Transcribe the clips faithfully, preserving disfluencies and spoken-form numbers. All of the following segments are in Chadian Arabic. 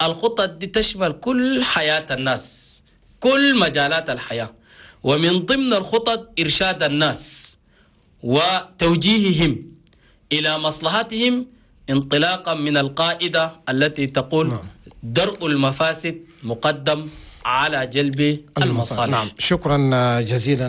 الخطط دي تشمل كل حياة الناس، كل مجالات الحياة، ومن ضمن الخطط إرشاد الناس وتوجيههم إلى مصلحتهم، انطلاقا من القاعدة التي تقول نعم. درء المفاسد مقدم على جلب المصالح. نعم، شكرا جزيلا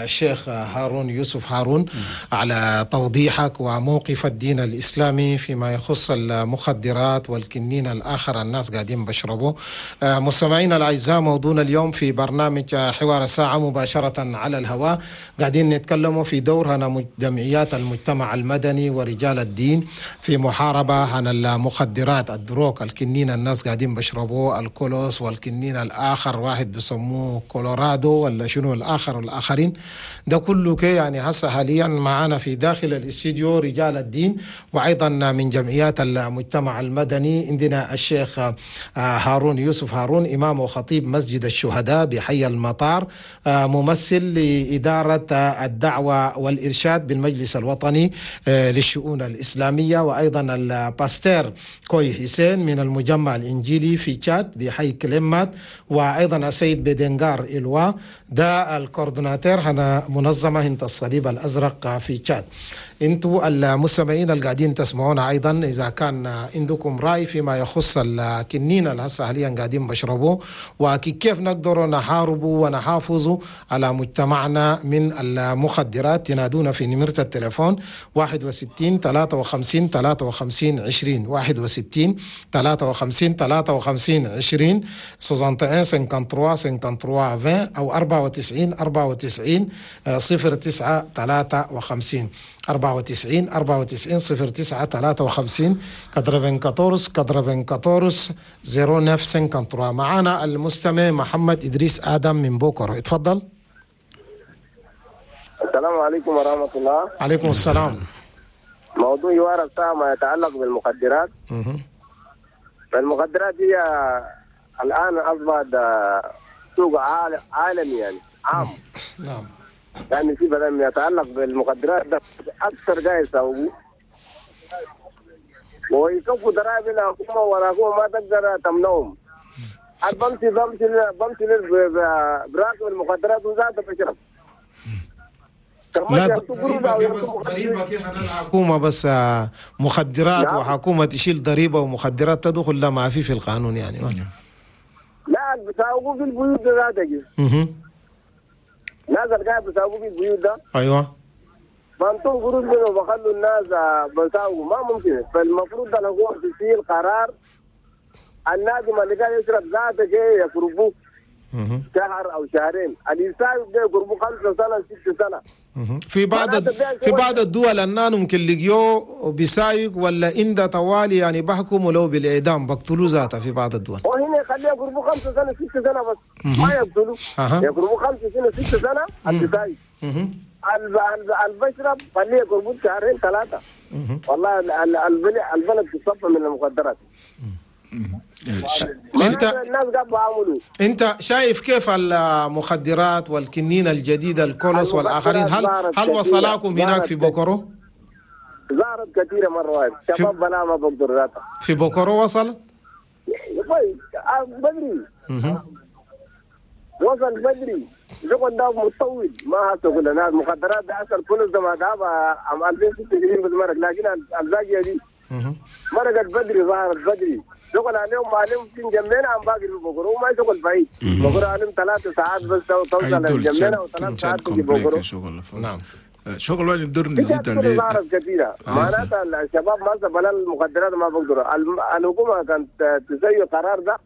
الشيخ هارون يوسف هارون على توضيحك وموقف الدين الإسلامي فيما يخص المخدرات والكنين الآخر الناس قاعدين بشربوه. مستمعينا الأعزاء، موضوعنا اليوم في برنامج حوار الساعة مباشرة على الهواء، قاعدين نتكلموا في دور هنا جمعيات المجتمع المدني ورجال الدين في محاربة عن المخدرات، ال drogue، الكنين الناس قاعدين بشربوه، الكولوس والكنين الآخر واحد بيسموه كولورادو ولا شنو الآخر والآخرين ده كله كي. يعني هسه حاليا معانا في داخل الاستديو رجال الدين وأيضا من جمعيات المجتمع المدني. عندنا الشيخ هارون يوسف هارون، إمام وخطيب مسجد الشهداء بحي المطار، ممثل لإدارة الدعوة والإرشاد بالمجلس الوطني للشؤون الإسلامية، وأيضا ال pasteur كوي حسين من المجمع الإنجيلي في تشاد بحي كلمات، وأيضا السيد بدنغار إلوا ده ال coordinateur هنا منظمة هنت الصليب الأزرق في تشاد. انتوا المستمعين اللي قاعدين تسمعونا ايضا، اذا كان عندكم راي فيما يخص الكنين اللي هسه حاليا قاعدين بشربوه وكيف نقدر نحاربه ونحافظ على مجتمعنا من المخدرات، تنادونا في نمرة التليفون واحد وستين ثلاثة وخمسين ثلاثة وخمسين عشرين، واحد وستين ثلاثة وخمسين ثلاثة وخمسين عشرين، واحد وستين ثلاثة وخمسين ثلاثة وخمسين عشرين، او أربعة وتسعين أربعة وتسعين صفر تسعة ثلاثة وخمسين، أربعة وتسعين أربعة وتسعين صفر تسعة ثلاثة وخمسين، quatre-vingt-quatorze quatre-vingt-quatorze zéro neuf cinquante-trois. معنا المستمع محمد إدريس آدم من بوكر، اتفضل. السلام عليكم ورحمة الله. عليكم السلام. موضوع حوار الساعة ما يتعلق بالمخدرات. مهم. فالمخدرات هي الآن أصبحت سوق عال- عالمي، يعني عام. نعم يعني في بدل ما يتعلق بالمخدرات ده أكثر قاعد يسوقوا ويكفوا ضرائب الحكومة، والحكومة ما تقدر تمنعهم. بمشي بمشي بمشي براكب المخدرات وذاته بشرب. لا، ضريبة بس، ضريبة كده الحكومة بس آه، مخدرات نعم. وحكومة تشيل ضريبة ومخدرات تدخل، لا ما في في القانون يعني. لا، بيساوقوا في البيوت ده ذاته. مهم. ناس اللي قاعد بيساوقوا في البيوت ده ايوه بنطوا قروش منه وبخلوا الناس آه، بيساوقوا، ما ممكن. فالمفروض الحكومة تشيل قرار، النادم اللي قاعد يشرب ذاته جاي يقربوه مهم. شهر او شهرين، اللي يساوق ده يقربوه خمسة سنة، ست سنة. مهم. في بعض معناته ده في بعض الدول النان ممكن لقيوه بيسايق ولا إنده طوالي يعني بحكموا له بالإعدام، بقتلوا ذاته في بعض الدول. وهنا يخليه يقربوا خمسة سنة ست سنة بس ما يقتلوا. أها. يقربوا خمسة سنة ست سنة اللي سايق. مهم. البشرب خليه يقربوا شهرين ثلاثة. والله ال- ال- البلد البلد تصفى من المخدرات. انت الناس قاعد بيعملوا انت شايف كيف المخدرات والكنين الجديد الكولوس والاخرين، هل ظهرت هل كثيرة. وصلاكم هناك في ظهرت بوكورو؟ ظهرت كثيرة مرة واحدة، شباب بلا ما بقدر ذاتها. في بوكورو وصل؟ طيب آه، بدري. مهم. وصل بدري، شغل ده متطور، ما هسه كل الناس مخدرات ده اصل كل ده ما ده عام ألفين وستة وعشرين بس مرق، لكن الباقية دي مهم. مرقت بدري، ظهرت بدري. شغل عليهم عليهم في جنبنا عم باقي في بوكرو، ما شغل بعيد، بوكرو عليهم ثلاث ساعات بس توصل جنبنا، وثلاث ساعات تجي بوكرو. شغل. نعم. شغل وين ندور في نزيد كل عليه. ظهرت كثيرة، معناتها الشباب ما بلا المخدرات ما بقدروا. الم- الحكومة كانت تسوي قرار ده،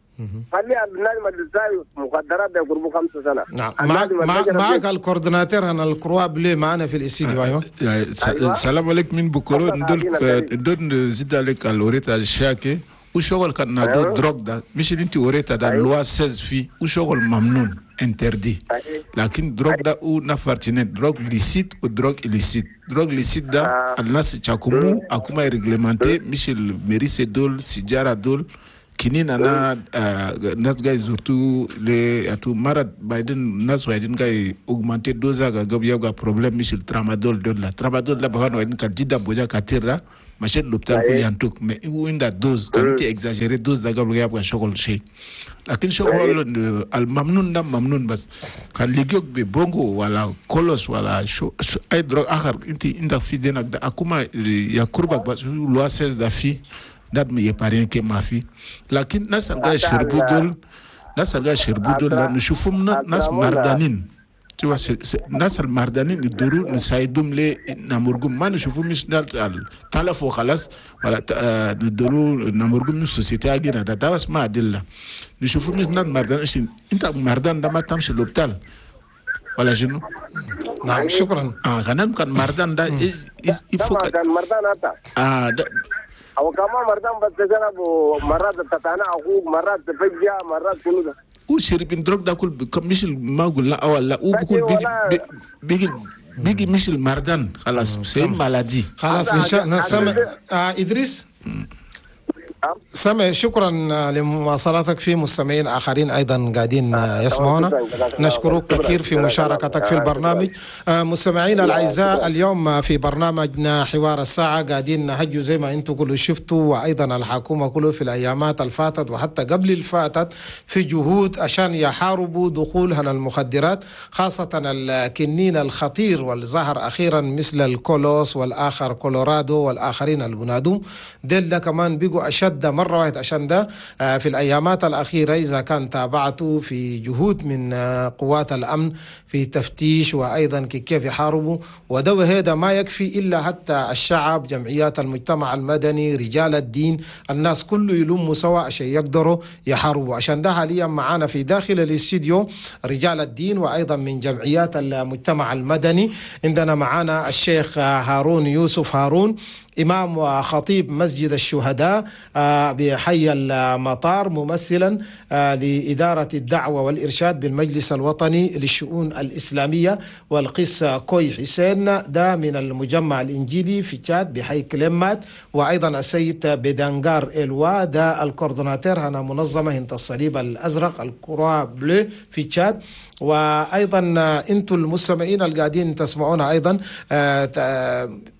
خلي النادم اللي تساوي مخدرات ده يقربوا خمسة سنة. نعم، معك النادم اللي معك, بيشرب معك ال coordinateur هنا ال Croix Bleue معنا في الاستديو، ايوه. يعني س- أيوة. السلام عليكم من بكرو. تفضل. ندور عافينا الكريم. ندور نزيد عليك الوريتا الشاكي وشغل كان نادو أيوة. drogue ده مش اللي انت وريتا ده. أيوة. loi seize في وشغل ممنوع، interdit. أيوة. لكن drogue ده او نفرتين، drogue licite و drogue illicite. drogue licite ده آه. الناس تشاكمو اكما réglementé، مش المريسة دول، سيجارة دول، كنين انا آه، ناس جاي surtout les اتو مرض بعدين الناس وايدين جاي augmenter dose قبل يبقى problème، مش الترامادول دول. لا، ترامادول ده بهان وايدين كان جدا بوجا كتير ده. مشيت l'hôpital كل ينتوك mais هو عندها dose كان انت exagérer dose ده قبل يبقى شغل شيء لكن شغل الممنون ده ممنون بس كان لقيوك ببونغو ولا كولوس ولا شو, شو اي drogue اخر انت عندك في دينك ده اكما يا كربك بس loi seize ده في ده ما يبارين كي ما في لكن ناس القاعد يشربوا دول ناس القاعد يشربوا دول نشوفهم ناس مردانين tu vois ناس المردانين يدوروا نساعدهم لي نمرقهم ما نشوفوا مش تلفوا خلاص ولا ندوروا نمرقهم من ال société اجينا ده ده بس ما أدلة نشوفوا مش ناس مردان انت مردان ده ما تمشي l'hôpital ولا شنو؟ نعم شكرا. اه كان كان مردان ده يفوق كان مردان هذا اه ده او كمان مردان بس جرب مرات تتانا اخوك مرات تفجع مرات كله ده وشربين drogue ده كل مش ما قلنا اول لا وبكل بيجي بيجي بيجي مش المردان خلاص c'est maladie خلاص ان شاء الله. سامع آه ادريس سامع شكرا لمواصلتك. في مستمعين آخرين أيضا قاعدين يسمعونا، نشكرك كثير في مشاركتك في البرنامج. مستمعينا الأعزاء، اليوم في برنامجنا حوار الساعة قاعدين نهجوا زي ما أنتم كله شفتوا، وأيضا الحكومة كله في الأيامات الفاتت وحتى قبل الفاتت في جهود عشان يحاربوا دخولها المخدرات، خاصة الكنين الخطير والظهر أخيرا مثل الكولوس والآخر كولورادو والآخرين البنادوم ديل ده كمان بيجوا أشد ده مرة واحدة. عشان ده في الأيامات الأخيرة إذا كان تابعته في جهود من قوات الأمن في تفتيش وأيضا كيف يحاربوا، وده وهذا ما يكفي إلا حتى الشعب، جمعيات المجتمع المدني، رجال الدين، الناس كله يلموا سوا عشان يقدروا يحاربوا. عشان ده حاليا معانا في داخل الاستديو رجال الدين وأيضا من جمعيات المجتمع المدني. عندنا معانا الشيخ هارون يوسف هارون، إمام وخطيب مسجد الشهداء بحي المطار، ممثلا لإدارة الدعوة والإرشاد بالمجلس الوطني للشؤون الإسلامية، والقس كوي حسين ده من المجمع الإنجيلي في تشاد بحي كلمات، وأيضا السيد بدنجار إلوا ده ال coordonnateur هنا منظمة هنت الصليب الأزرق ال Croix Bleue في تشاد. وأيضا أنتم المستمعين القاعدين تسمعونا أيضا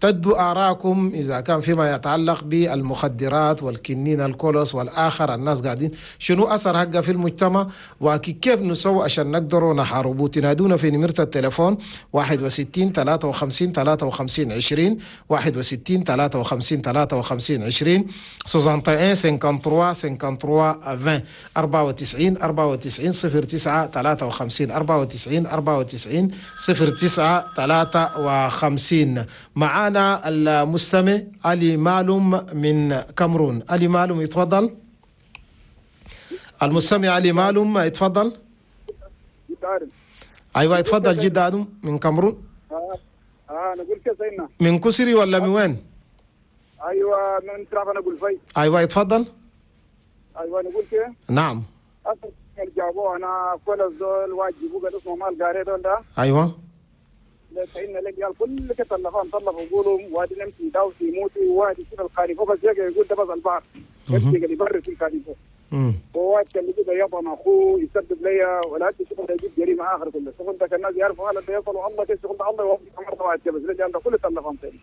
تدوا آراءكم إذا كان فيما يتعلق بالمخدرات والكنين الكولوس والآخر، الناس قاعدين شنو أثر حقه في المجتمع وكيف نسوي عشان نقدروا نحاربوا. تنادونا في نمرة التليفون واحد وستين ثلاثة وخمسين ثلاثة وخمسين عشرين، واحد وستين ثلاثة وخمسين ثلاثة وخمسين عشرين، واحد وستين ثلاثة وخمسين ثلاثة وخمسين عشرين، أربعة وتسعين أربعة وتسعين صفر تسعة ثلاثة وخمسين، أربعة وتسعين أربعة وتسعين صفر تسعة ثلاثة وخمسين. معانا المستمع علي مالوم من كامرون. علي مالوم يتفضل. المستمع علي مالوم يتفضل. ايوه يتفضل جدا ادم من كامرون. اه اه نقول كيف سيدنا؟ من كسري ولا من وين؟ ايوه من تراب انا اقول في. ايوه يتفضل. ايوه نقول كيف؟ نعم. جابوه انا كل الزول واجبوا قال اسمه مال قاري دول ده. ايوه. لأن لك كل كتلفان طلبوا يقولوا وادي نمشي داوسي يموتوا وادي شوف الخاريفو بس يقول ده بس البحر يمشي قال يبرر في الخاريفو وواد كان يجيب يطن اخوه يسبب لي ولا شغل يجيب جريمة اخر كله شغل ده كان الناس يعرفوا هذا يصلوا الله كيف شغل الله يوفق مرة واحد بس رجال ده كله تلفان ثاني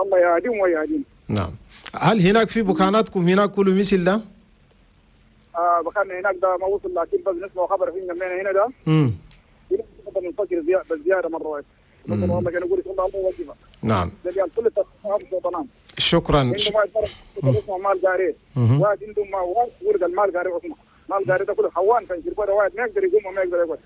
الله يهديهم ويهديهم. نعم. هل هناك في بكاناتكم هناك كل مثل ده؟ اه بكان هناك ده ما وصل لكن بس نسمع خبر في جنبنا هنا ده. امم منفجر بالزيارة مرة واحدة. والله كان يقول الله يوفقك. نعم. كل شكرا. اسمه مال قاري واحد عندهم ما ورد المال قاري اسمه مال قاري ده كله حوان كان يشربوا واحد ما يقدر يقوم وما يقدر يقعد.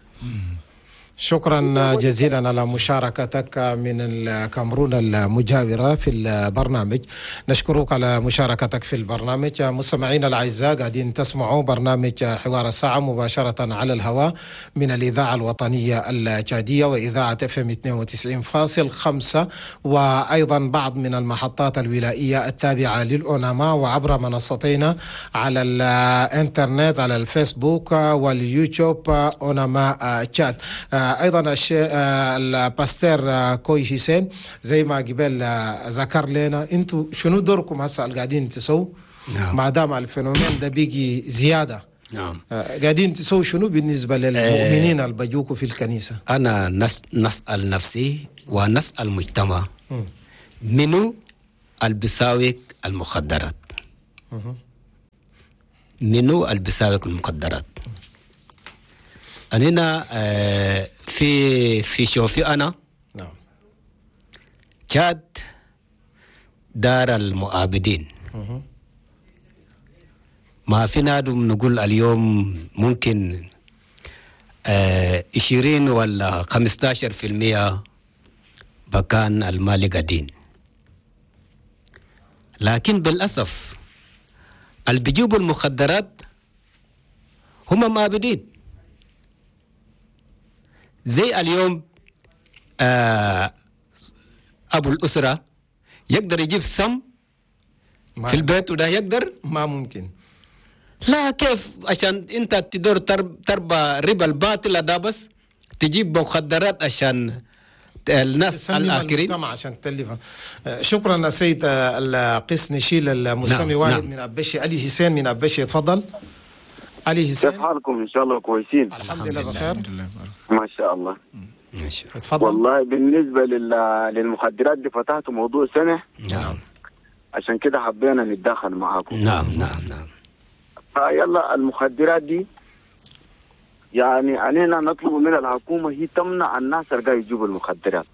شكرا جزيلا على مشاركتك من الكاميرون المجاورة في البرنامج، نشكرك على مشاركتك في البرنامج. مستمعينا الأعزاء قاعدين تسمعوا برنامج حوار الساعة مباشرة على الهواء من الإذاعة الوطنية التشادية وإذاعة اف ام اثنين وتسعين فاصل خمسة، وأيضا بعض من المحطات الولائية التابعة للأوناما، وعبر منصتين على الإنترنت على الفيسبوك واليوتيوب أوناما تشاد. ايضا الشيء ال pasteur كوي حسين زي ما قبل ذكر لنا، انتوا شنو دوركم هسه قاعدين تسووا؟ نعم. ما دام ال phénomène ده بيجي زيادة، نعم، قاعدين تسووا شنو بالنسبة للمؤمنين اللي بيجوكوا في الكنيسة؟ انا نس نسال نفسي ونسال المجتمع منو البساوق المخدرات؟ منو البساوق المخدرات؟ أنا في في شوفي أنا نعم تشاد دار المؤابدين. ما في نادم نقول اليوم ممكن عشرين ولا خمستاشر في المية بكان المال قدين، لكن بالأسف اللي بيجيبوا المخدرات هم مابدين. زي اليوم آه أبو الأسرة يقدر يجيب سم في البيت وده يقدر؟ ما ممكن. لا كيف؟ عشان انت تدور تربى ربا الباطلة ده بس تجيب مخدرات عشان الناس الآخرين عشان تلفها. شكرا سيد القس نشيل المستمع. نعم. واحد نعم. من أبشي، علي حسين من أبشي، تفضل علي حسين. كيف حالكم؟ إن شاء الله كويسين. الحمد لله بخير ما شاء الله. تفضل. والله بالنسبة للمخدرات دي فتحتوا موضوع سنة. نعم. عشان كده حبينا نتدخل معاكم. نعم نعم نعم. فيلا المخدرات دي يعني علينا نطلب من الحكومة هي تمنع الناس اللي قاعد يجيبوا المخدرات،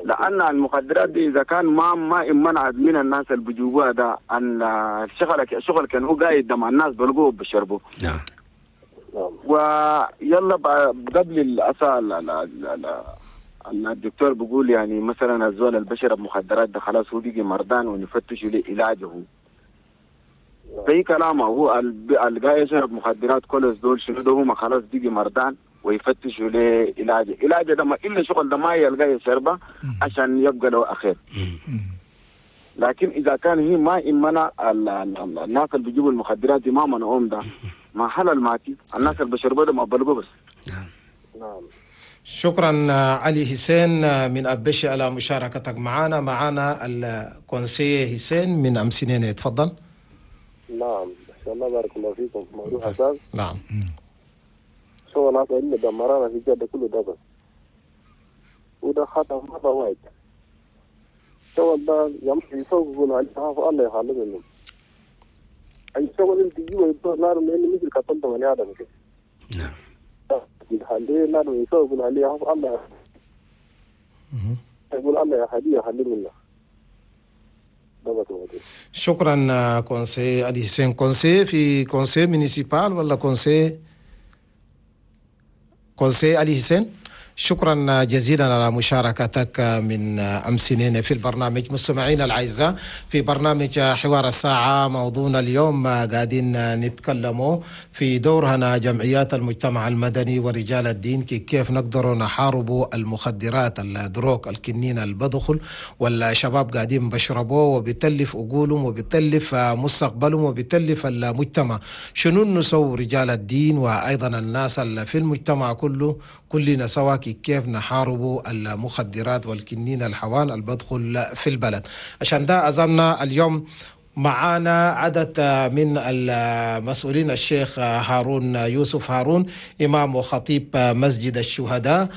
لأن المخدرات دي إذا كان ما ما منعت من الناس اللي بيجيبوها ده أن الشغل شغل كان هو قاعد مع الناس بلقوه بشربوه. نعم. ويلا قبل الأسى الدكتور بيقول يعني مثلا الزول اللي بشرب مخدرات ده خلاص هو بيجي مرضان ونفتشوا له علاجه. زي كلامه هو اللي قاعد يشرب مخدرات كل دول شنو ده هم خلاص بيجي مرضان ويفتشوا له علاجه، علاجه ده ما الا شغل ده ما يلقى يشربه عشان يبقى له اخير. لكن اذا كان هي ما امنا الناس اللي بيجيبوا المخدرات دي ما منعوهم ده ما حلال ماتي الناس اللي بيشربوا ده ما بلقوا بس. نعم. شكرا علي حسين من أبشي على مشاركتك معنا. معنا ال conseiller حسين من أمسنين، تفضل. نعم ان شاء الله بارك الله فيكم. موضوع حساس. نعم. شغل هذا اللي دمرنا في جدة كله ده بس، وده خطأ مرة واحد. شغل ده يمشي يسوق عليه الله يخلي منهم. أي شغل أنت تجيبه يدور نار لأنه مثل قتلت بني آدم كده. نعم. يخليه نار يسوق عليه الله يقول الله يخليه يخلي منه. شكرا conseiller علي حسين. conseiller في conseil municipal ولا conseiller conseiller علي حسين؟ شكرا جزيلا على مشاركتك من أمسنين في البرنامج. مستمعينا الأعزاء في برنامج حوار الساعة، موضوعنا اليوم قاعدين نتكلموا في دورنا جمعيات المجتمع المدني ورجال الدين كيف نقدر نحاربوا المخدرات، ال drogue، الكنين البدخل، والشباب قاعدين بشربوه وبتلف عقولهم وبتلف مستقبلهم وبتلف المجتمع. شنو نسوي رجال الدين وأيضا الناس في المجتمع كله كلنا سوا كيف نحاربوا المخدرات والكنين الحوان البدخل في البلد؟ عشان ده عزمنا اليوم معانا عدد من المسؤولين، الشيخ هارون يوسف هارون إمام وخطيب مسجد الشهداء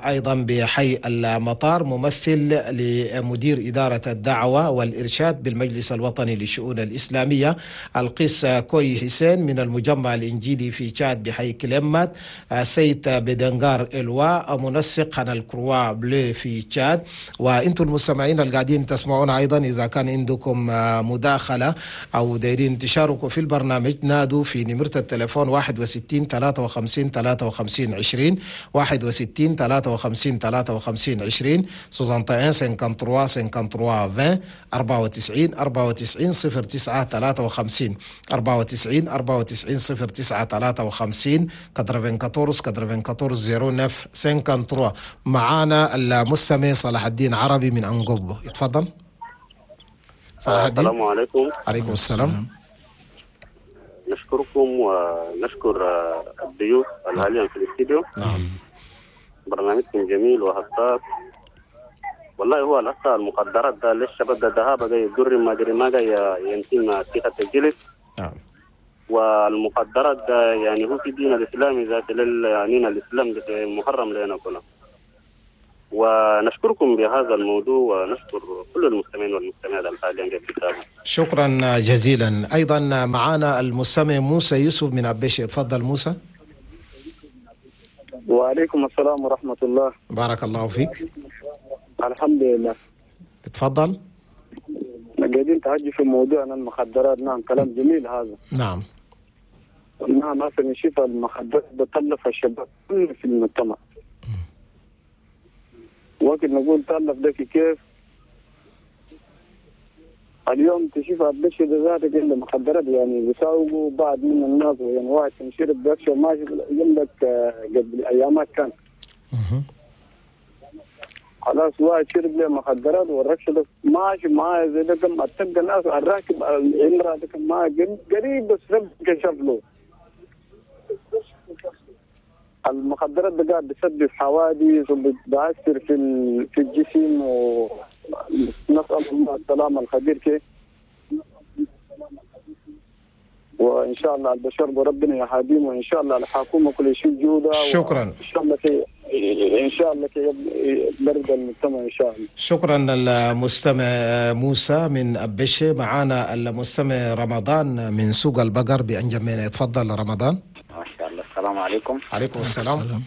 أيضا بحي المطار، ممثل لمدير إدارة الدعوة والإرشاد بالمجلس الوطني للشؤون الإسلامية، القس كوي حسين من المجمع الإنجيلي في تشاد بحي كلمات، سيد بدنغار إلوا منسق عن ال Croix Bleue في تشاد. وإنتم المستمعين القاعدين تسمعون أيضا إذا كان عندكم مداخلة أو دايرين تشاركوا في البرنامج نادوا في نمرة التليفون واحد وستين ثلاثة وخمسين ثلاثة وخمسين عشرين، واحد وستين ثلاثة وخمسين ثلاثة وخمسين عشرين، soixante et un cinquante-trois cinquante-trois vingt، أربعة وتسعين أربعة وتسعين صفر تسعة ثلاثة وخمسين، أربعة وتسعين أربعة وتسعين صفر تسعة ثلاثة وخمسين، quatre-vingt-quatorze quatre-vingt-quatorze zéro neuf cinquante-trois. معانا المستمع صلاح الدين عربي من أنقبو، اتفضل صلاح الدين. السلام عليكم. عليكم السلام. نشكركم ونشكر الضيوف الحاليا في الاستديو. نعم. برنامجكم جميل وحساس والله. هو الأسا المخدرات ده للشباب ده ذهاب جاي يضر ما دري ما جاي ينتم ثقة الجلد. نعم. والمخدرات ده يعني هو في دين الإسلام ذات لل يعني الإسلام ده محرم لنا كله. ونشكركم بهذا الموضوع ونشكر كل المستمعين والمستمعات الحاليين في. شكرا جزيلا. أيضا معنا المستمع موسى يوسف من أبيشي. تفضل موسى. وعليكم السلام ورحمة الله. بارك الله فيك. الحمد لله. تفضل. قاعدين تحكي في موضوعنا المخدرات. نعم كلام جميل هذا. نعم نعم هسه نشوف المخدرات بتلف الشباب في المجتمع. وقت نقول تلف ده كيف؟ اليوم تشوف البشر ذاتك عنده مخدرات يعني بيساوقوا بعض من الناس، يعني واحد يشرب بيكشف ماشي يملك قبل ايامات كان خلاص واحد شرب له مخدرات والركشه ماشي معاه زي ده كم اتبقى الناس الراكب العمرة ده كم معاه قريب بس ربك كشف له. المخدرات ده قاعد بتسبب حوادث وبتأثر في في الجسم، ونسأل الله السلامة الخبير كي، وإن شاء الله البشر بربنا يهديهم، وإن شاء الله الحكومة كل شيء جودة. شكرا. إن شاء الله كي إن شاء الله كي برد المجتمع إن شاء الله. شكرا المستمع موسى من أبشي. معنا المستمع رمضان من سوق البقر بأنجمينا. تفضل رمضان. ما شاء الله. السلام عليكم. عليكم السلام.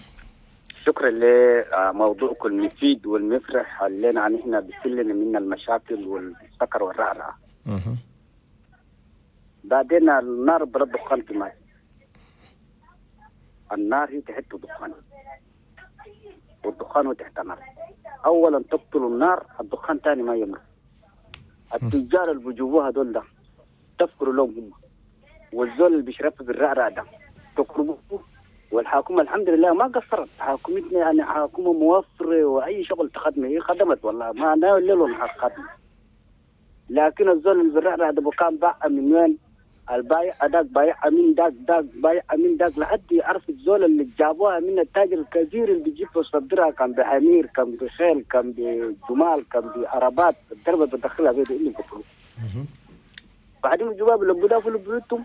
شكرا لموضوعكم المفيد والمفرح اللي نحن بسلنا من المشاكل والسكر والرعرعة. بعدين النار بلا دخان كمان، النار هي تحت دخان والدخان هو تحت نار. اولا تقتل النار، الدخان ثاني ما يمر. التجار اللي بيجوها دول ده تفكروا لهم هم، والزول اللي بيشرب بالرعرع ده تقربوه. والحكومة الحمد لله ما قصرت، حكومتنا يعني حكومة موفره واي شغل تخدمه هي خدمت والله ما انا الليل والنهار خدمة. لكن الزول اللي بالرعرع ده كان باع من وين؟ البايع داك بايع من داك داك بايع من داك لحد يعرف الزول اللي جابوها من التاجر الكبير اللي بيجيب ويصدرها، كان بحمير كان بخيل كان بجمال كان بعربات الدربه بتدخلها بيد اللي بيقولوا. بعدين الجواب اللي بيضافوا لبيوتهم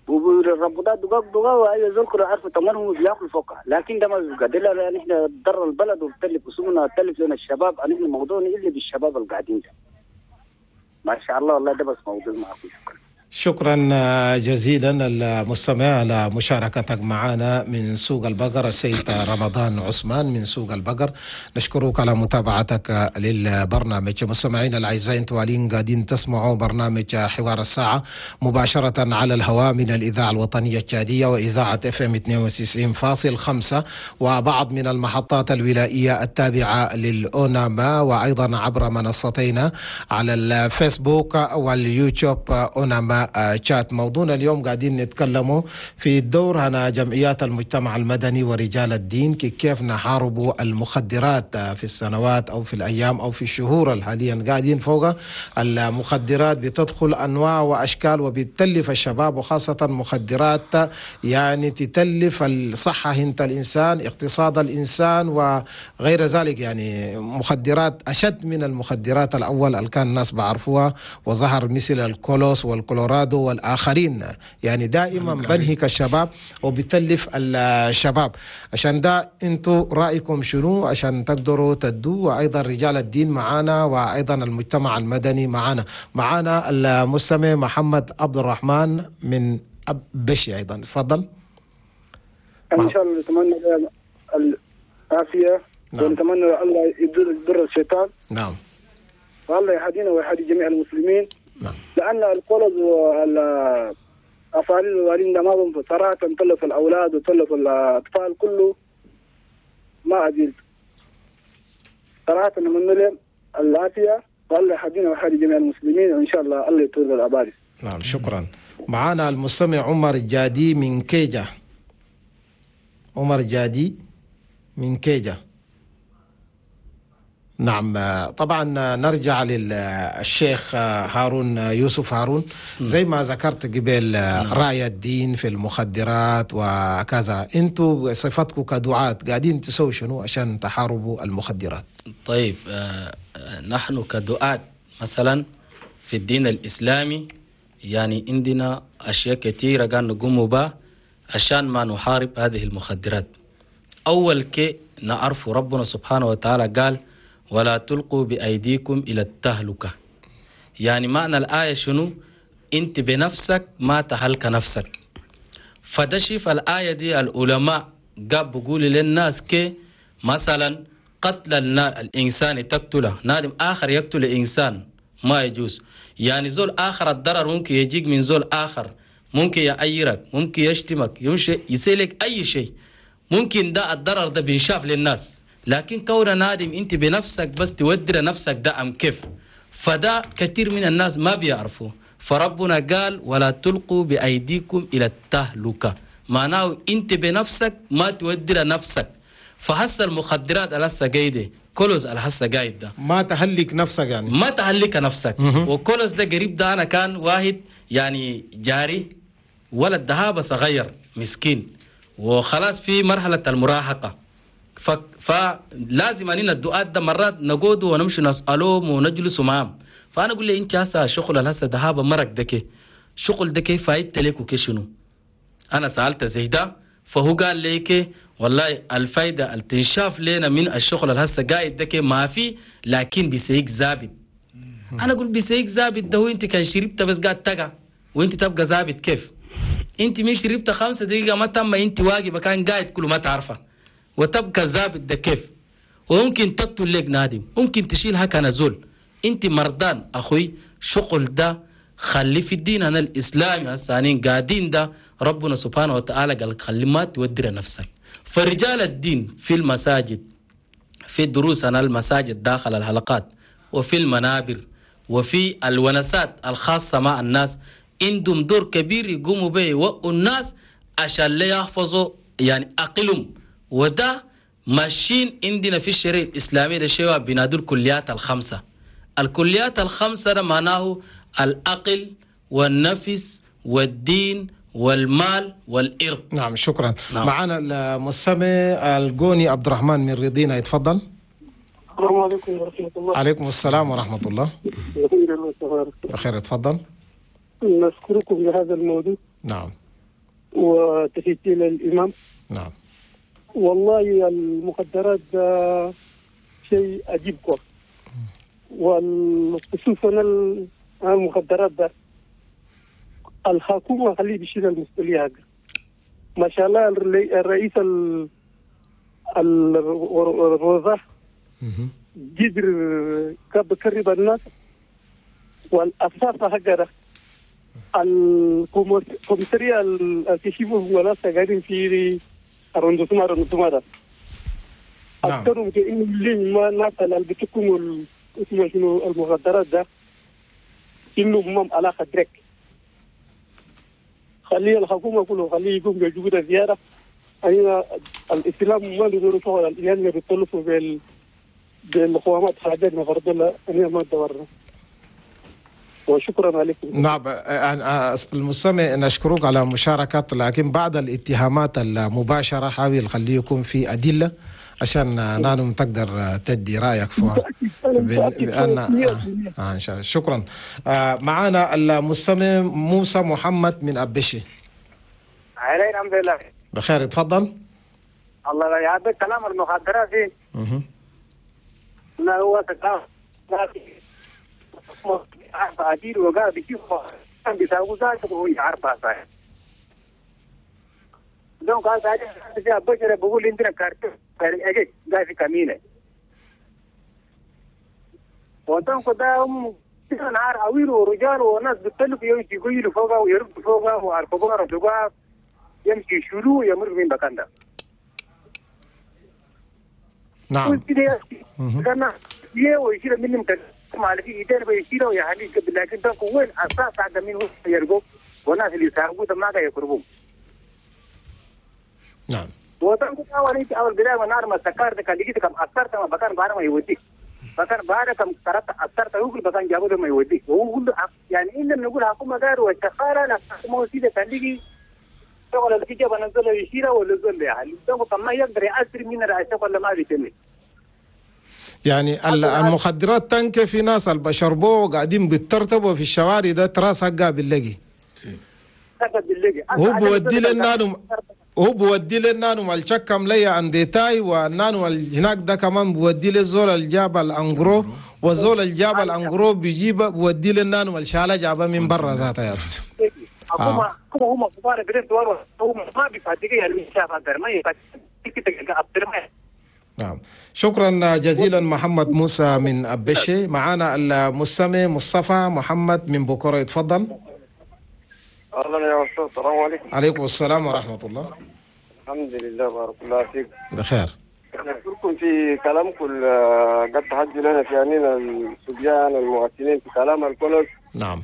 وبالربطات دقاق دقاق وأي زول كله عارفوا ثمنهم بياكلوا فوقها، لكن ده ما بيبقى ده. نحن ضر البلد وبتلف اسمنا وتلف لنا الشباب، نحن موضوعنا اللي بالشباب اللي قاعدين ده. ما شاء الله والله ده بس موضوع معكم. شكرا. شكرا جزيلا المستمع على مشاركتك معنا من سوق البقر، السيد رمضان عثمان من سوق البقر. نشكرك على متابعتك للبرنامج. مستمعينا الاعزاء، انتم قاعدين قاعدين تسمعوا برنامج حوار الساعة مباشرة على الهواء من الإذاعة الوطنية التشادية وإذاعة اف ام اثنين وتسعين فاصل خمسة وبعض من المحطات الولائية التابعة للأوناما، وأيضا عبر منصتينا على الفيسبوك واليوتيوب أوناما شات. موضوعنا اليوم قاعدين نتكلموا في الدور هنا جمعيات المجتمع المدني ورجال الدين، كيف نحاربوا المخدرات في السنوات أو في الأيام أو في الشهور الحاليا قاعدين فوق. المخدرات بتدخل أنواع وأشكال وبتتلف الشباب، وخاصة مخدرات يعني تتلف الصحة هنت الإنسان، اقتصاد الإنسان وغير ذلك. يعني مخدرات أشد من المخدرات الأول اللي كان الناس بعرفوها وظهر مثل الكولوس والكلورادو والآخرين. يعني دائما بنهك الشباب وبتلف الشباب. عشان ده انتوا رأيكم شنو عشان تقدروا تدوا؟ وأيضا رجال الدين معانا وأيضا المجتمع المدني معانا. معانا المستمع محمد عبد الرحمن من أبشي أيضا، تفضل. إن شاء الله نتمنى العافية. نعم. ونتمنى الله يضر الشيطان. نعم. والله يهدينا ويهدي جميع المسلمين. نعم. لأن القرض والأفعال الوالدين ده ما بنفع صراحة، تلف الأولاد وتلف الأطفال كله ما عدلت صراحة. نتمنى لهم العافية والله يهدينا ويهدي جميع المسلمين، وإن شاء الله الله يطول الأباد. نعم شكرا. معنا المستمع عمر الجادي من كيجا. عمر جادي من كيجا. نعم طبعا نرجع للشيخ هارون يوسف هارون. زي ما ذكرت قبل رأي الدين في المخدرات وكذا، انتوا صفتكم كدعاة قاعدين تسووا شنو عشان تحاربوا المخدرات؟ طيب نحن كدعاة مثلا في الدين الإسلامي يعني عندنا أشياء كثيرة قاعد نقوم بها عشان ما نحارب هذه المخدرات. أول كي نعرف ربنا سبحانه وتعالى قال ولا تلقوا بأيديكم إلى التهلكة. يعني معنى الآية شنو؟ أنت بنفسك ما تهلك نفسك. فده شيف الآية دي العلماء قاب بقول للناس كي مثلا قتل الإنسان تقتله، نادم آخر يقتل الإنسان ما يجوز. يعني زول آخر الضرر ممكن يجيك من زول آخر، ممكن يعيرك، ممكن يشتمك، يمشي يسيلك أي شيء، ممكن ده الضرر ده بينشاف للناس. لكن كون نادم أنت بنفسك بس تودر نفسك ده أم كيف، فده كثير من الناس ما بيعرفوا. فربنا قال ولا تلقوا بأيديكم إلى التهلكة، معناه أنت بنفسك ما تودر نفسك. فهسه المخدرات الهسه قايدة كولوز الهسه قايد ده ما تهلك نفسك، يعني ما تهلك نفسك. وكولوز ده قريب ده أنا كان واحد يعني جاري ولد دهابة صغير مسكين وخلاص في مرحلة المراهقة، ف... فلازم أننا الدعاة ده مرات نقود ونمشي نسألهم ونجلس معهم. فأنا أقول له أنت هسه شغل الهسه دهابة مرق ده شغل ده كيف فايدت لك وكشنو؟ أنا سألت زي ده فهو قال لي والله الفايدة التنشاف لنا من الشغل الهسه قايد ده ما في، لكن بيسيك زابط. أنا أقول بيسيك زابط ده هو أنت كان شربت بس قاعد تقع وأنت تبقى زابط كيف؟ أنت من شربت خمسة دقيقة ما تم أنت واقفة كان قاعد كله ما تعرفه وتبقى زابط ده كيف؟ وممكن تقتل لك نادم، ممكن تشيل هكا نزول. أنت مردان أخوي شغل ده خلي في الدين أنا الإسلامي هسانين قاعدين ده ربنا سبحانه وتعالى قال خلي ما تودر نفسك. فرجال الدين في المساجد، في دروس أنا المساجد داخل الحلقات وفي المنابر وفي الونسات الخاصة مع الناس، عندهم دور كبير يقوموا به يوقوا الناس عشان لا يحفظوا يعني أقلهم. وده ماشيين عندنا في الشريعة الإسلامية ده شيء بنادوا الكليات الخمسة. الكليات الخمسة ده معناه العقل والنفس والدين والمال والإرض. نعم شكرا. نعم. معنا المستمع الجوني عبد الرحمن من رضينا، يتفضل. السلام عليكم ورحمة الله. عليكم السلام ورحمة الله. بخير، تفضل. نشكركم لهذا الموضوع. نعم. وتحياتي للإمام. نعم. والله المخدرات ده شيء عجيب، والخصوصا المخدرات ده الحكومة خليه بيشيل المسؤولية هذا. ما شاء الله الرئيس الوزراء قدر كب الناس، والأساس حقه الكوميسارية اللي ولا قاعدين في رندوسما رندوسما ده أكثرهم كأنه اللي ما ناس اللي بتكون اسمه شنو المخدرات ده إنه هم علاقة درك. خلي الحكومة كله خليه يقوم بجهود زيادة. أنا الإسلام ما له شغل الإيمان اللي بيطلفوا بال بالقوامات حاجات ما فرض الله أنا ما دورنا. وشكرا عليكم. نعم المستمع نشكرك على مشاركة، لكن بعد الاتهامات المباشرة حاول خليه يكون في أدلة عشان نانو تقدر تدي رأيك فيها. بأن آه إن شاء الله. شكرا. آه معنا المستمع موسى محمد من أبشي. علي الحمد لله بخير، تفضل. الله يعافيك. كلام المخدرات دي لا هو عديد وقال بيشوف بيساوي ذاته وهو يعرفها صحيح. دون قال هذا بشر بقول عندنا كارت أجي قاعد في كمينة. وطن كده هم نهار عويل ورجال وناس بتلف يمشي يقولوا فوقه ويربط فوقه وعرفوه رجوع يمشي شلو يمر من مكان ده. نعم. كان يه ويشيل منهم كان ما في إيدين بيشيلوا يعني لكن ده وين أساس عند مين هو يرجو وناس اللي يساعدوا ده ما قاعد يقربون. نعم. وطن كده أول إنت أول بداية ما نار ما سكر ده كان لقيت كم أثرت ما بكان بارا ما يوديك. بكان بارا كم ترى أثرت هو كل بكان جابوا ده ما يوديك. وهو كل يعني إن نقول حكومة غير والشخارة لا حكومة سيدة كان لقي شغل اللي جاب نزل يشيله ولا زول يعني ده ما يقدر يأثر من الرئاسة ولا ما بيتم. يعني المخدرات تنك في ناس اللي بشربوه وقاعدين بيترتبوا في الشوارع ده تراس حقها باللقي. هو بودي لنا هو بودي لنا مال ليا عند تاي ونانو هناك ده كمان بودي للزول الجاب الانجرو وزول الجاب الانجرو بيجيب بودي لنا الشاله جابه من برا ذاتها يا هم هم كبار بريد هم ما بيفاتيك يعني شاف ما يفاتيك. نعم شكرا جزيلا محمد موسى من أبشي. معانا المستمع مصطفى محمد من بكرة، اتفضل. اهلا يا استاذ، السلام عليكم. عليكم السلام ورحمة الله. الحمد لله بارك الله فيك. بخير. نشكركم في كلامكم قد تحدي لنا في عنينا الصبيان المواطنين في كلام الكل. نعم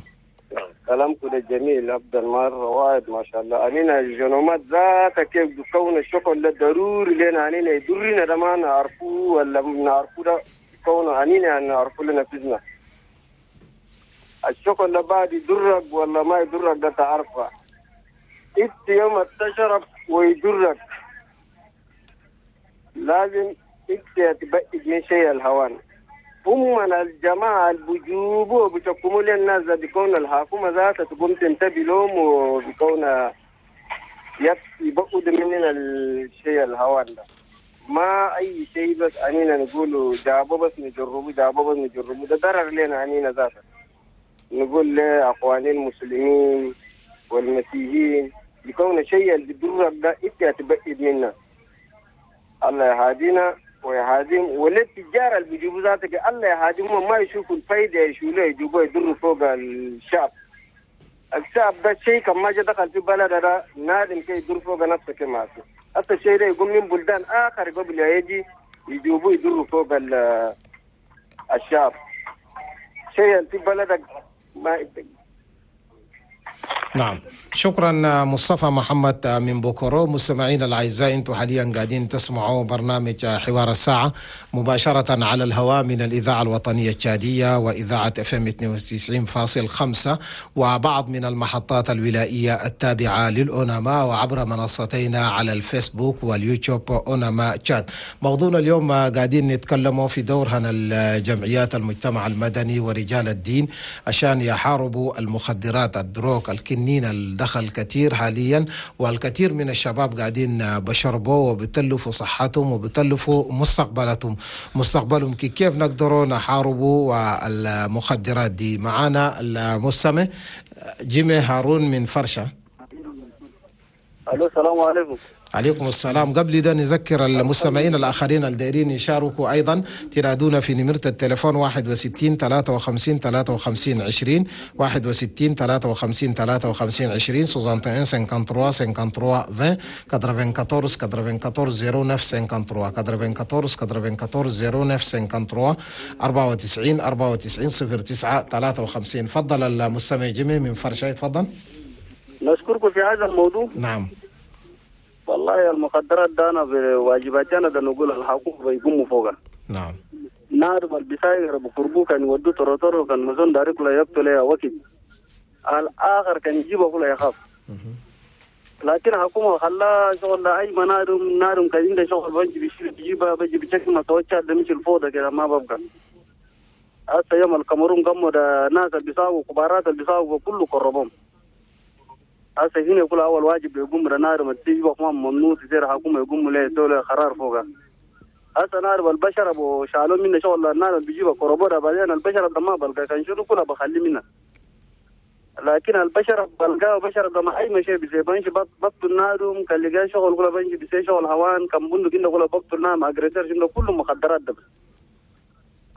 كلامكم ده جميل افضل مرة واحد ما شاء الله. انينا الجنومات ذاتها كيف بكون الشغل ده ضروري لنا، انينا يضرنا ده ما نعرفوه ولا نعرفوه ده كون انينا نعرفوه لنفسنا. الشغل ده بعد يضرك ولا ما يضرك ده تعرفه. انت يوم تشرب ويضرك لازم انت تبعد من شيء الهوان. هم الجماعة اللي بيجوبوا بيحكموا للناس بيكون الحكومة ذاتها تقوم تنتبه لهم وبيكون يبعد مننا الشيء الهوان ده. ما أي شيء بس أنينا نقوله جابوا بس نجربوا جابوا بس نجربوا ده ضرر لنا أنينا ذاتها. نقول لأخواني المسلمين والمسيحيين بيكون شيء اللي بيضرك ده أنت تبعد منا. الله يهدينا ويهاديهم وللتجار اللي بيجيبوا ذاتك الله يهاديهم ما يشوفوا الفايدة يشولوا يجيبوا يضروا فوق الشعب. الشعب ده شيء كما جا دخل في بلد ده نادم كي يضر فوق نفسه كما في. حتى الشيء ده يقوم من بلدان آخر قبل يجي يجيبوا يضروا فوق الشعب. شيء في بلدك ما. نعم شكرا مصطفى محمد من بوكورو. مستمعين الأعزاء، انتم حاليا قاعدين تسمعوا برنامج حوار الساعة مباشرة على الهواء من الإذاعة الوطنية التشادية وإذاعة اف ام اثنين وتسعين فاصل خمسة وبعض من المحطات الولائية التابعة للأوناما وعبر منصتينا على الفيسبوك واليوتيوب أوناما تشاد. موضوعنا اليوم قاعدين نتكلموا في دورهن الجمعيات المجتمع المدني ورجال الدين عشان يحاربوا المخدرات، ال drogue، الكنين الدخل كثير حاليا، والكثير من الشباب قاعدين بشربوا وبتلفوا صحتهم وبتلفوا مستقبلتهم مستقبلهم. كيف نقدروا نحاربوا المخدرات دي؟ معانا المستمع جيمي هارون من فرشة. الو السلام عليكم. عليكم السلام. قبل ده نذكر المستمعين الآخرين الدائرين يشاركوا أيضا، تنادونا في نمرة التليفون واحد وستين ثلاثة وخمسين ثلاثة وخمسين عشرين، واحد وستين ثلاثة وخمسين ثلاثة وخمسين عشرين، soixante et un cinquante-trois cinquante-trois vingt، quatre-vingt-quatorze quatre-vingt-quatorze zéro neuf cinquante-trois، quatre-vingt-quatorze quatre-vingt-quatorze zéro neuf cinquante-trois، أربعة وتسعين أربعة وتسعين صفر تسعة ثلاثة وخمسين. فضل المستمع جيمي من فرشة، تفضل. نشكركم في هذا الموضوع. نعم والله المخدرات ده انا بواجباتي انا ده نقول الحقوق بيقوموا فوقها. نعم نار البساير بقربو كان يودوا تروتورو كان مزون دارك لا يقتل يا وكيل الاخر كان يجيبه كله يخاف. لكن حكومة خلا شغل اي منارم نارم كان عنده شغل بنجي بيشيل بيجيبها بيجي بشكل ما توجه ده مش الفوضى كده ما ببقى. هسه يوم الكاميرون قاموا ده ناس اللي بيساووا كبارات اللي بيساووا كله قربهم. هسه هنا يقول اول واجب يقوم نار ما تيجي وما ممنوع تصير حكومة يقوم له يسوي قرار فوقها. هسه نار والبشر ابو شالوا منا شغل النار اللي بيجيبها كربوره بعدين البشر ده ما بلقى كان شنو كله بخلي منا. لكن البشر بلقاه بشر ده ما اي شيء بيسي بنش بطل النار كان لقى شغل كله بنش بيسي شغل هوان كان بندق كنا كله بطل النار اجريسر شنو كله مخدرات ده.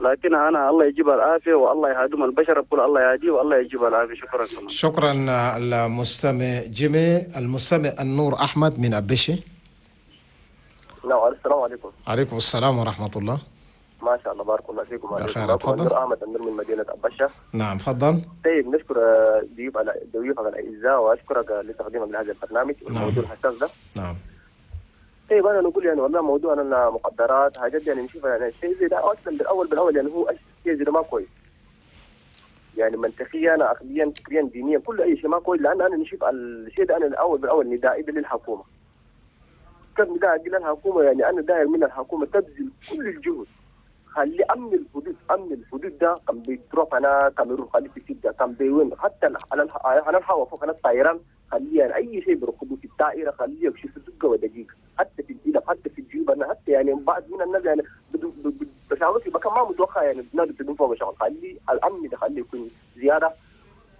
لكن أنا الله يجيب العافية والله يهدم البشر بقول الله يهديه والله يجيب العافية. شكرا كمان. شكرا المستمع جيمي. المستمع النور أحمد من أبشي. نعم السلام عليكم. عليكم السلام ورحمة الله. ما شاء الله بارك الله فيكم. بخير تفضل. النور أحمد النور من مدينة أبشة. نعم تفضل. طيب نشكر ضيوف على ضيوفك الأعزاء وأشكرك لتقديمك لهذا البرنامج والموضوع الحساس ده. نعم. طيب انا نقول يعني والله موضوع انا مخدرات حاجات يعني نشوف يعني الشيء زي ده اصلا بالاول بالاول يعني هو الشيء زي ده ما كويس. يعني منطقيا عقليا فكريا دينيا كل اي شيء ما كويس، لان انا نشوف الشيء ده انا الاول بالاول ندائي للحكومة. كيف ندائي للحكومة؟ يعني انا داير من الحكومة تبذل كل الجهد خلي امن الحدود، امن الحدود ده كان بيتروح انا كاميرون خلي في سده كان بيوين حتى على على الهواء فوق على الطيران خليه يعني اي شيء بيركبوه في الدائرة خليه يكشف دقه ودقيقة، حتى في الإلب حتى في الجيوب، انا حتى يعني بعض من الناس يعني بشغلوا في مكان ما متوقع يعني بنادي تدون فوق شغل، خليه الامن ده خليه يكون زيادة.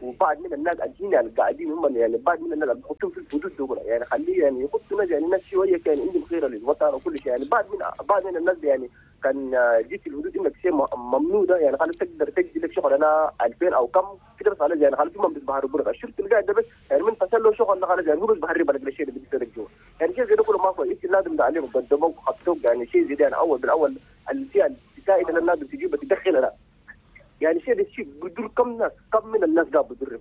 وبعض من الناس الجينا اللي قاعدين هم يعني بعض من الناس اللي بحطهم في الحدود دول يعني خليه يعني يحطوا ناس يعني ناس شوية كان عندهم خيره للوطن وكل شيء. يعني بعض من بعض من الناس يعني كان جيت في الحدود انك شيء ممنوع ده يعني خلاص تقدر تجي لك شغل انا ألفين او كم كده بس خلاص يعني خلاص هم بيتبهروا لك الشرطة اللي قاعد ده بس يعني من فصل له شغل خلاص يعني هو بس بهرب لك الشيء اللي بيصير جوا يعني شيء زي ده كله ما كويس، لازم تعلمه قدموك وحطوك يعني شيء زي ده يعني اول بالاول الفئة السائدة اللي لازم تجيبها تدخلها يعني شيء ده شيء بدور كم ناس كم من الناس قاعد بدرهم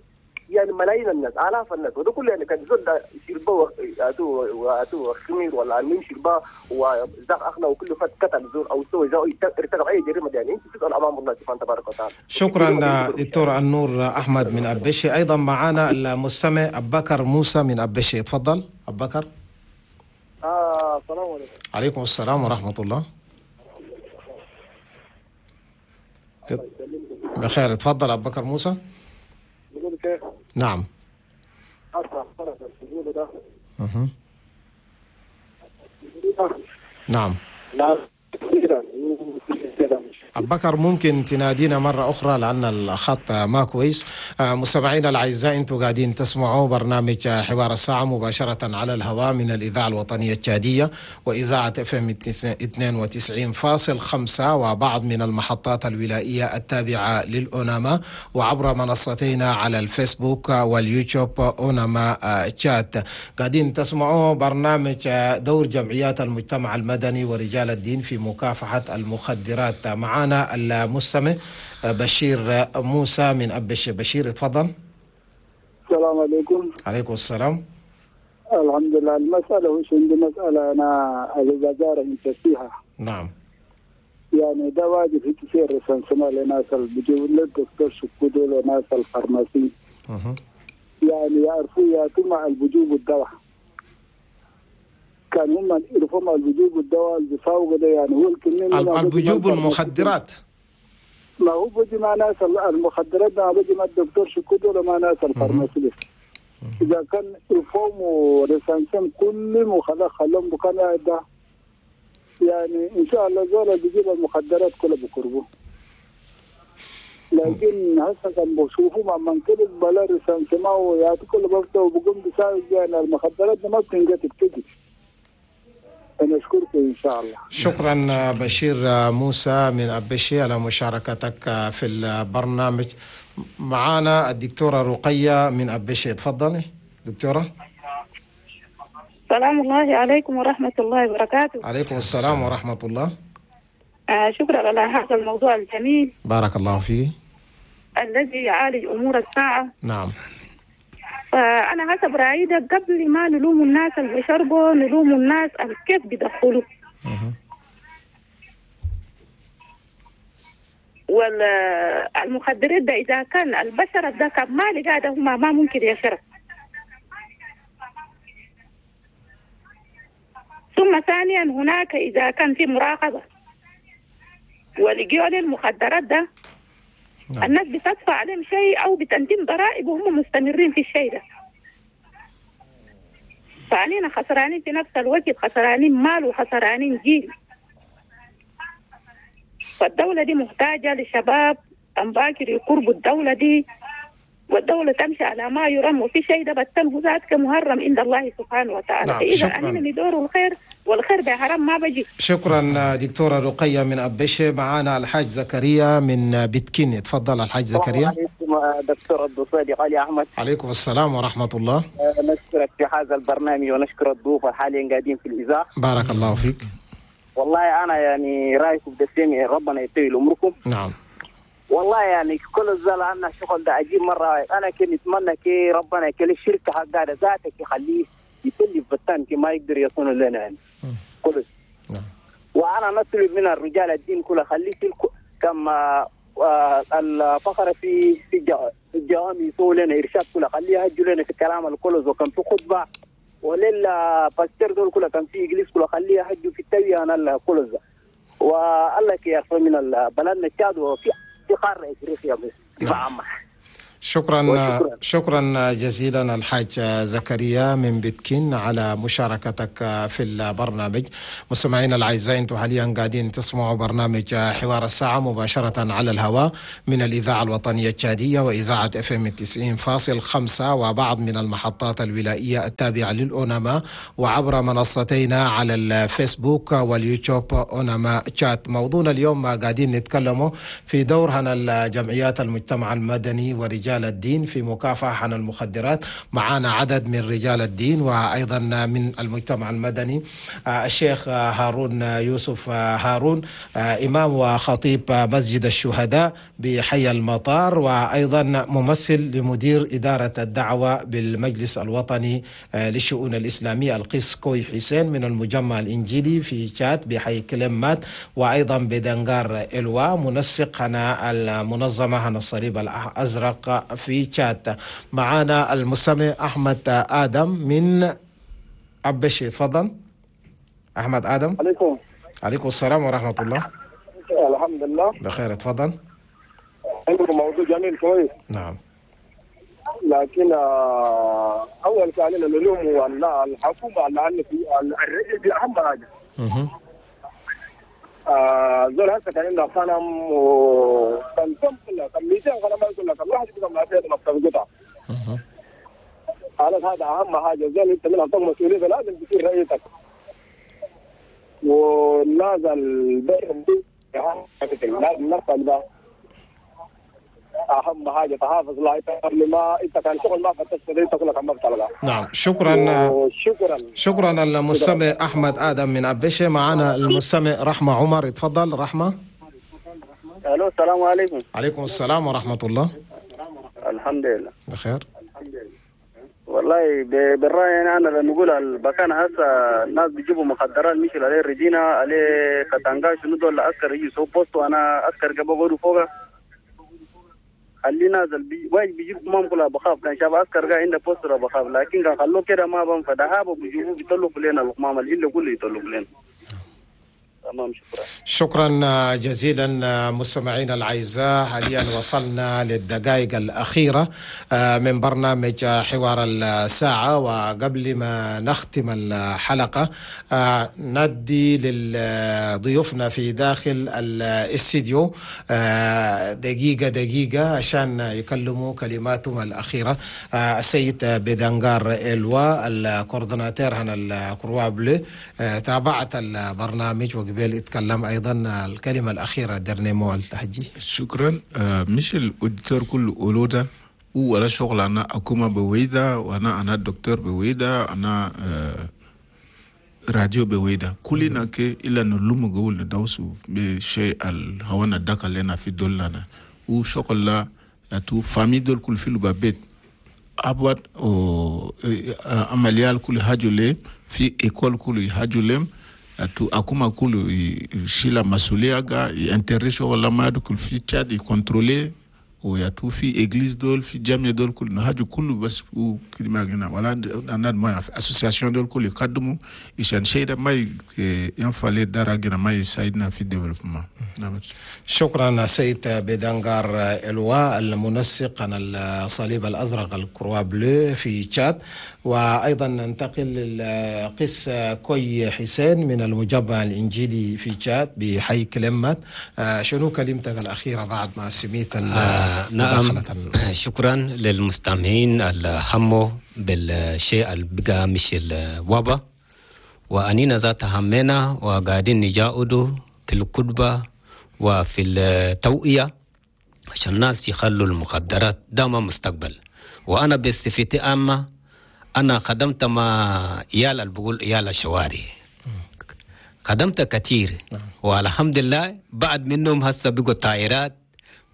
يعني ملايين الناس آلاف الناس، وده كله يعني كان زول يشربوا واتو واتو خمير ولا المهم شرباه وزاق اخنا وكله فات قتل زول او سوى زو ارتكب اي جريمة يعني انت تسال امام الله سبحانه تبارك وتعالى. شكرا دكتور النور احمد من ابشي. ايضا معنا المستمع ابو بكر موسى من ابشي، تفضل ابو بكر. آه السلام عليكم. عليكم السلام ورحمة الله. بخير، تفضل ابو بكر موسى. نعم. نعم. أبو بكر ممكن تنادينا مرة أخرى لأن الخط ما كويس. مستمعينا الأعزاء، أنتم قاعدين تسمعوا برنامج حوار الساعة مباشرة على الهواء من الإذاعة الوطنية التشادية وإذاعة اف ام اثنين وتسعين فاصل خمسة وبعض من المحطات الولائية التابعة للأوناما، وعبر منصتينا على الفيسبوك واليوتيوب أوناما تشات. قاعدين تسمعوا برنامج دور جمعيات المجتمع المدني ورجال الدين في مكافحة المخدرات. معنا المستمع بشير موسى من أبشي. بشير اتفضل. السلام عليكم. عليكم السلام. الحمد لله. المسألة وش عندي مسألة أنا الوزارة انت فيها. نعم. يعني ده واجب في كثير رسالة لناس اللي بيجوا للدكتور شكودول وناس الفارماسي. أه. يعني يعرفوا يا مع البجوب الدواء. كان هم يعرفوا البجوب الدواء اللي بيساووا ده يعني هو الكمية البجوب المخدرات. ما هو بيجي مع ناس المخدرات، ما بيجي مع الدكتور شكودو ولا مع ناس الفارماسيست. إذا كان يفهموا رسالتهم كل وخلاص خلهم بكان ده يعني إن شاء الله زول بيجيب المخدرات كلها بقربه. لكن هسه كان بشوفوا مع من كل بلا رسالة ويعطي كل بفته وبقوم بساوي يعني المخدرات ما بتنجت بتجي. أنا أشكركم إن شاء الله. شكرا بشير موسى من أبشي على مشاركتك في البرنامج. معنا الدكتورة رقية من أبشي، تفضلي دكتورة. سلام الله عليكم ورحمة الله وبركاته. عليكم السلام ورحمة الله. آه شكرا على هذا الموضوع الجميل. بارك الله فيه. الذي يعالج أمور الساعة. نعم. فأنا حسب رأيي ده قبل ما نلوم الناس اللي بيشربوا نلوم الناس كيف بيدخلوا. والمخدرات ده إذا كان البشر ده كان ما لقى هم ما ممكن يشرب. ثم ثانيا هناك إذا كان في مراقبة ولقيوا المخدرات ده نعم. الناس بتدفع عليهم شيء أو بتقدم ضرائب وهم مستمرين في الشيء ده. فعلينا خسرانين في نفس الوقت، خسرانين مال وخسرانين جيل. فالدولة دي محتاجة لشباب أمباكر يقربوا الدولة دي، والدولة تمشي على ما يرام، وفي شيء ده بتنه ذاتك مهرم عند الله سبحانه وتعالى. نعم. فإذا أننا ندور الخير والخير بحرام ما بجي. شكرا دكتورة رقية من أبشي. معانا الحاج زكريا من بتكين، تفضل الحاج زكريا. السلام عليكم دكتور عبد الصادق علي أحمد. عليكم السلام ورحمة الله. نشكرك في هذا البرنامج ونشكر الضيوف حاليا قاعدين في الإذاعة. بارك الله فيك. والله أنا يعني رأيكم بالسمع، ربنا يطول عمركم. نعم. والله يعني كل الزلمة عندنا شغل ده عجيب مرة. أنا كنت أتمنى كي ربنا كل الشركة حقها ذاتك يخليه يتلف بتان كي ما يقدر يصون لنا يعني كل. نعم. وأنا نطلب من الرجال الدين كله خليه في كما الفقرة في في الجوامع يسووا لنا إرشاد كله، خليه يهجوا لنا في الكلام الكل، وكان في خطبة وللا باستر دول كله كان في إنجليز كله خليه يهجوا في التوية أنا الكل. والله كي يرفع من بلدنا التشاد وفي في قارة إفريقيا بس. نعم. شكرا وشكرا. شكرا جزيلا الحاج زكريا من بتكين على مشاركتك في البرنامج. مستمعينا الاعزاء، انتم حاليا قاعدين تسمعوا برنامج حوار الساعة مباشرة على الهواء من الاذاعة الوطنية التشاديه واذاعة اف ام تسعين فاصل خمسة وبعض من المحطات الولائيه التابعة للاوناما، وعبر منصتينا على الفيسبوك واليوتيوب اوناما تشاد. موضوعنا اليوم قاعدين نتكلموا في دور هنا الجمعيات المجتمع المدني ورجال الدين في مكافحة عن المخدرات. معنا عدد من رجال الدين وأيضا من المجتمع المدني، الشيخ هارون يوسف هارون، إمام وخطيب مسجد الشهداء بحي المطار، وأيضا ممثل لمدير إدارة الدعوة بالمجلس الوطني للشؤون الإسلامية، القس كوي حسين من المجمع الإنجيلي في تشاد بحي كلمات، وأيضا بدنغار إلوا منسق هنا المنظمة هنا الصليب الأزرق في تشاد. معنا المستمع أحمد آدم من أبشي، تفضل أحمد آدم. عليكم. عليكم السلام ورحمة الله. الحمد لله بخير، تفضل. عندكم موضوع جميل كويس. نعم. لكن أول كان نلوم والله الحكومة لأن في الرجل دي أهم حاجة. آه زول هسه كان عنده غنم وكان كم كلها كم مئتين غنم كلها كم واحد كم ما فيها مكتب قطع. خلاص هذا أهم حاجة. زول أنت من أعطاك مسؤولية لازم تصير رئيسك. ولازم البر لازم نفسك ده أهم حاجة تحافظ لا قبل ما أنت كان شغل ما فتشت أنت كلك ما بتلقى. نعم شكرا. شكرا شكرا المستمع أحمد آدم من أبشة. معنا المستمع رحمة عمر، اتفضل رحمة. ألو السلام عليكم. عليكم السلام ورحمة الله. الحمد لله بخير. والله بالرأي يعني أنا نقول البكان هسه الناس بيجيبوا مخدرات مشوا عليه ريجينا عليه كتانجا شنو دول عسكر يجي سو بوست وأنا عسكر قبل غورو فوقه خلينا نازل بي وايد بيجيب كمام كلها بخاف كان شاف عسكر قاعد عنده بوست بخاف، لكن كان خلوه كده ما بنفع دهابه بيجيبوه بيطلقوا لنا الكمام اللي كله يطلقوا لنا. تمام شكرا. شكرا جزيلا مستمعينا الاعزاء. حاليا وصلنا للدقائق الاخيرة من برنامج حوار الساعة، وقبل ما نختم الحلقة ندي لضيوفنا في داخل الاستديو دقيقة دقيقة عشان يكلموا كلماتهم الاخيرة. السيد بدنغار الوا ال coordinateur هنا ال Croix Bleue، تابعت البرنامج وقبل يتكلم ايضا الكلمة الاخيرة dernier mot التحجي. شكرا. آه مش ال auditeur كله اولودا ولا شغل انا اكوما بويدا وانا انا دكتور بويدا انا آه راديو بويدا كلنا كي الا نلوم قول ندوسو بشيء الهوانا داك لنا في دولنا وشغل لا تو famille دول كل في البيت ابوات او عمليال كل حاجة في école كل حاجة تو akuma kulu shila masulia ga intérêt شغل ما كل في تشاد يcontrôler ويا تو في église دول في جامعة دول كل نهاج كله بس وكلمة جنا ولا أنا ما association دول كل يقدموا عشان شيء ده ما ينفع لدارا جنا ما يساعدنا في développement. نعم. شكرا سيد بدنغار الوا المنسق عن الصليب الأزرق ال Croix Bleue في تشاد. وأيضا ننتقل للقس كوي حسين من المجمع الإنجيلي في تشاد بحي كلمات. شنو كلمتك الأخيرة بعد ما سميت؟ آه نعم شكرا للمستمعين الهموا بالشيء اللي بقى مش الوباء، وأنينا ذات همنا وقاعدين نجاودوا في الكتبة وفي التوعية عشان الناس يخلوا المخدرات ده ما مستقبل. وأنا بصفتي عامة أنا خدمت مع عيال اللي بقول عيال الشوارع، خدمت كثير والحمد لله. بعد منهم هسه بقوا طائرات،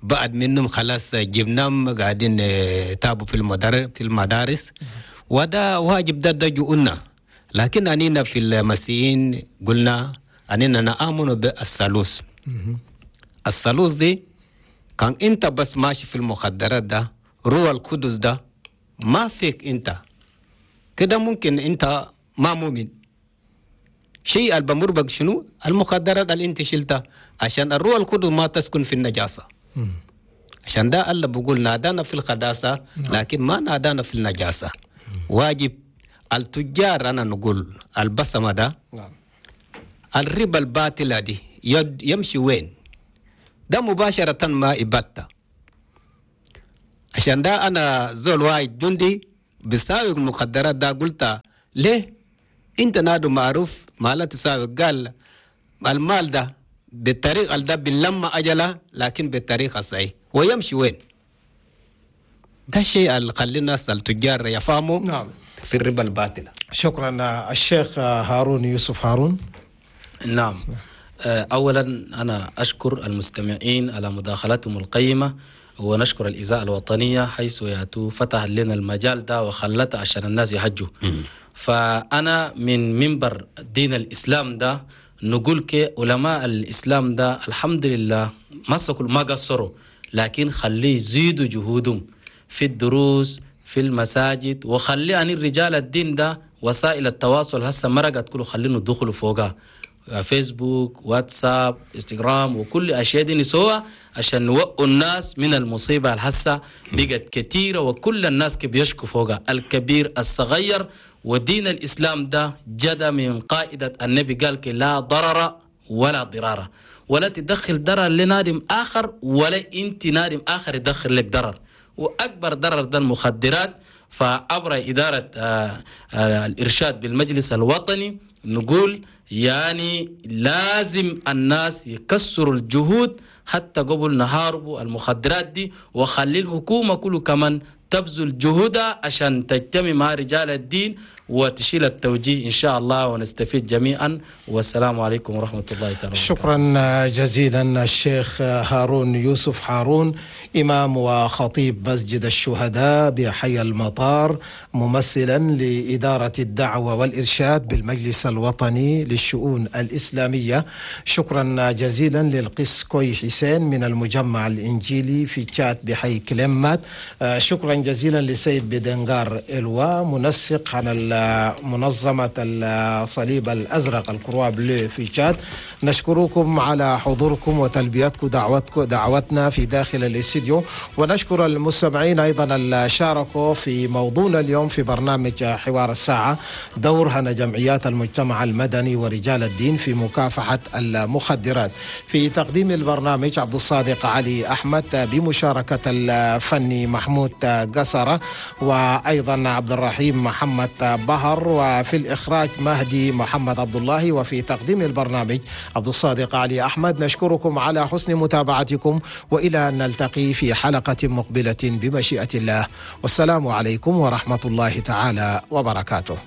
بعد منهم خلاص جبناهم قاعدين تابوا في المدارس في المدارس وده واجب ده ده جؤنا. لكن أنينا في المسيحيين قلنا أننا نآمن بالثالوث. الثالوث دي كان أنت بس ماشي في المخدرات ده روح القدس ده ما فيك أنت كده، ممكن أنت ما مؤمن شيء اللي بمربك شنو المخدرات اللي أنت شلتها عشان الروح القدس ما تسكن في النجاسة. عشان ده الله بيقول نادانا في القداسة لكن ما نادانا في النجاسة. واجب التجار أنا نقول البسمة ده نعم. الربا الباطلة دي يمشي وين؟ ده مباشرة ما إبتة. عشان ده أنا زول واحد جندي بساوي المخدرات ده، قلت ليه أنت نادو معروف ما لا تساوي؟ قال المال ده بالطريقة ده بنلم أجله لكن بالطريقة الصحيح، ويمشي وين؟ ده شيء اللي خلي الناس التجار يفهموا نعم. في الربا الباطلة. شكرا الشيخ هارون يوسف هارون. نعم، أولا أنا أشكر المستمعين على مداخلتهم القيمة، ونشكر الإذاعة الوطنية حيث ياتوا فتح لنا المجال ده وخلته عشان الناس يحجوا. فأنا من منبر دين الإسلام ده نقول كعلماء الإسلام ده الحمد لله مسكوا ما قصروا، لكن خليه يزيدوا جهودهم في الدروس في المساجد، وخلي عن الرجال الدين ده وسائل التواصل هسه مرقت كله خلينا ندخلوا فوقها، فيسبوك واتساب انستغرام وكل اشياء دي نسوها عشان نوقوا الناس من المصيبه الهسه بقت كثيره، وكل الناس بيشكوا فوقها الكبير الصغير. ودين الاسلام ده جدا من قائده النبي قال لا ضرر ولا ضرار، ولا تدخل ضرر لنادم اخر ولا انت نادم اخر يدخل لك ضرر، واكبر ضرر ده المخدرات. فعبر اداره آه آه الارشاد بالمجلس الوطني نقول يعني لازم الناس يكسروا الجهود حتى قبل نهاربوا المخدرات دي، وخلي الحكومة كله كمان تبذل جهودها عشان تجتمع مع رجال الدين وتشيل التوجيه إن شاء الله، ونستفيد جميعا. والسلام عليكم ورحمة الله تعالى. شكرا جزيلا الشيخ هارون يوسف هارون، إمام وخطيب مسجد الشهداء بحي المطار، ممثلا لإدارة الدعوة والإرشاد بالمجلس الوطني للشؤون الإسلامية. شكرا جزيلا للقس كوي حسين من المجمع الإنجيلي في تشاد بحي كلمات. شكرا جزيلا لسيد بدنغار إلوا، منسق عن منظمة الصليب الأزرق ال Croix Bleue في تشاد. نشكركم على حضوركم وتلبيتكم دعوتكم دعوتنا في داخل الاستديو، ونشكر المستمعين أيضا اللي شاركوا في موضوعنا اليوم في برنامج حوار الساعة، دورها جمعيات المجتمع المدني ورجال الدين في مكافحة المخدرات. في تقديم البرنامج عبد الصادق علي أحمد بمشاركة الفني محمود قصرة، وأيضا عبد الرحيم محمد بهر، وفي الإخراج مهدي محمد عبد الله، وفي تقديم البرنامج عبد الصادق علي أحمد. نشكركم على حسن متابعتكم، وإلى أن نلتقي في حلقة مقبلة بمشيئة الله، والسلام عليكم ورحمة الله تعالى وبركاته.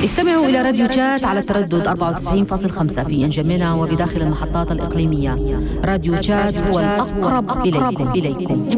استمعوا إلى راديو تشاد على التردد أربعة وتسعين فاصلة خمسة في إنجمينا وبداخل المحطات الإقليمية. راديو تشاد هو الأقرب إليكم.